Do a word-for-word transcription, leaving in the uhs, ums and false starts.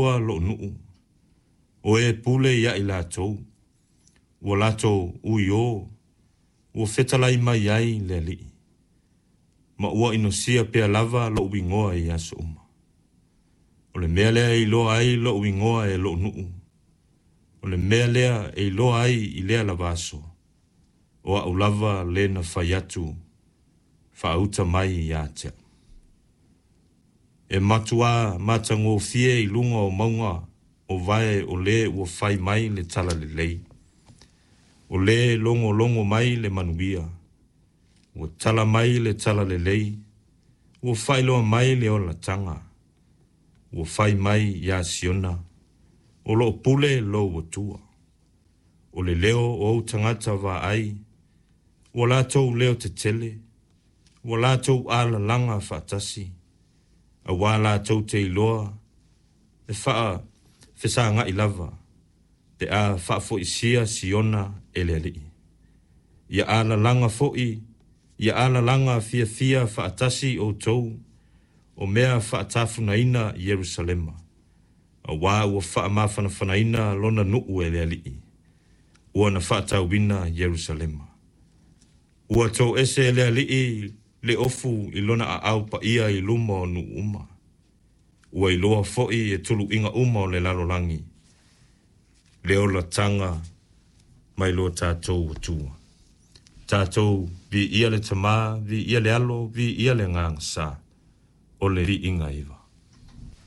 Atua loʻu nuu, o e pule ia i latou, ua latou uiō, ua fetalai mai ai le Alii, ma ua inosia pea lava loʻu igoa i aso uma. O le mea lea e iloa ai loʻu igoa e loʻu nuu, o le mea lea e iloa ai i lea lava aso, o a'u lava le na fai atu faauta mai ia te a'u. E matuā matagofie i luga o mauga o vae o lē ua fai mai le talalelei, o lē logologo mai le manuia, ua tala mai le talalelei, ua faailoa mai le olataga, ua fai mai iā Siona, o loo pule lou Atua. O le leo o ou tagata vaai, ua latou leo tetele, ua latou alalaga faatasi, auā latou te iloa e faafesagaʻi lava, pe a faafoisia Siona e le Alii. Ia alalaga foi, ia alalaga fiafia faatasi outou, o mea faatafunaina Ierusalema, auā ua faamafanafanaina lona nuu e le Alii, ua na faatauina Ierusalema. Ua toese e le Alii le ofu i lona aao paia i luma o nuu uma. Ua iloa foi e tuluiga uma o le lalolagi le olataga mai lo tatou Atua. Tatou viia le Tamā, viia le Alo, viia le Agaga Sa, o le viiga iva.